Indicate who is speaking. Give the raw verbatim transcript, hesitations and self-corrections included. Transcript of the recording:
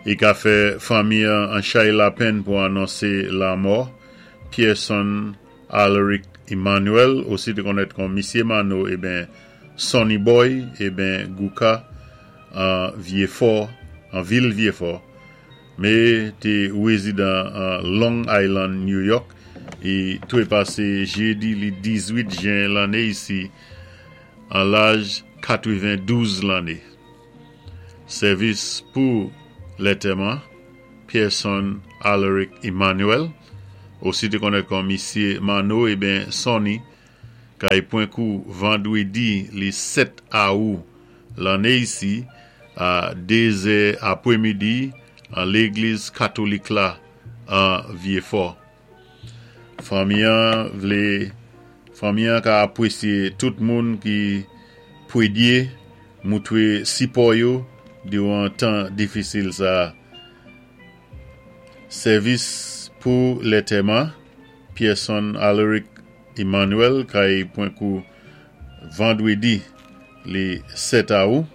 Speaker 1: I ka fè fanmi an chay lapenn pou anonsé lanmò Pearson Alaric Emmanuel, osi té konnèt kon Misyé Manno eben Sonny Boy eben Gouka an Vyéfò, an vil Vyéfò, mé té wézidan an Long Island, New York, i twépasé jédi li dizwit jen lanné isi an laj katwenvendouz lanné. Sèvis pou lantèman Pearson Alaric Emmanuel, osi té konnèt kon Misyé Manno eben Sonny, kay pwan kou vandwédi li sèt awou lanné isi a dézè apwémidi an légliz katolik la an Vyéfò. Fanmi an vlé fanmi an ka apwésyé tout moun ki pwédyé moutwé sipò yo diwan tan difisil sa. Sèvis pou lantèman Pearson Alaric Emmanuel kay pwan kou vandwédi li sèt awou.